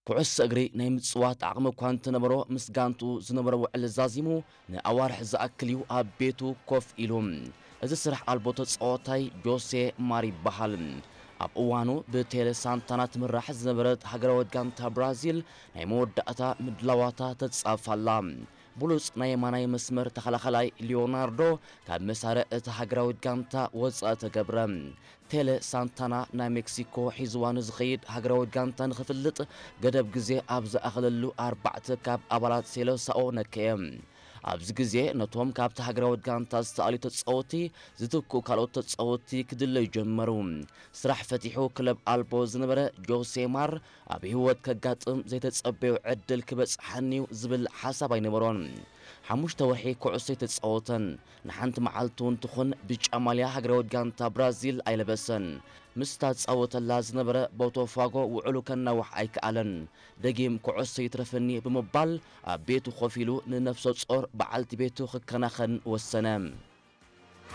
ኩዕሶ እግሪ ናይ ምጽዋት ዓቕሚ እኳ እንተነበሮ፣ ምስ ጋንትኡ ዝነበሮ ውዕል ዛዚሙ ንኣዋርሕ ዝኣክል እዩ ኣብ ቤቱ ኮፍ ኢሉ። እዚ ስራሕ ኣልቦ ተጻዋታይ ጆሴ ማር ይበሃል። ኣብ እዋኑ ብቴለ ሳንታና ትምራሕ ዝነበረት ሃገራዊት ጋንታ ብራዚል ናይ መወዳእታ ምድላዋታ ተጻፍ ኣላ። ብሉጽ ናይ የማናይ መስመር ተኸላኸላይ ሊዮናርዶ ካብ መሳርዕ እታ ሃገራዊት ጋንታ ወጻኢ ተገብረ። ቴለ ሳንታና ናይ ሜክሲኮ ሒዝዋ ንዝኸይድ ሃገራዊት ጋንታ ንኽፍልጥ ገደብ ግዜ ኣብ ዝኣኸለሉ ኣርባዕተ ካብ ኣባላት ሴለሳኦ ነከየ። ኣብዚ ግዜ ነቶም ካብቲ ሃገራዊት ጋንታ ዝተኣልዩ ተጻወትቲ ዝትክኡ ካልኦት ተጻወትቲ ክድለዩ ጀመሩ። ስራሕ ፈቲሑ ክለብ ኣልቦ ዝነበረ ጆሴ ማር ኣብ ህይወት ከጋጥም ዘይተጸበዮ ዕድል ክበጽሓኒዩ ዝብል ሓሳብ ኣይነበሮን። ሓሙሽተ ወርሒ ኩዕሶ ኣይተጻወተን። ንሓንቲ መዓልቲ እውን ትኹን ብጫ ማልያ ሃገራዊት ጋንታ ብራዚል ኣይለበሰን። ምስታ ዝጻወተላ ዝነበረ ቦቶፋጎ ውዕሉ ከናውሕ ኣይከኣለን። ደጊም ኩዕሶ ይትረፈኒ ብምባል ኣብ ቤቱ ኮፍ ኢሉ ንነፍሰ ጾር በዓልቲ ቤቱ ክከናኸን ወሰነ።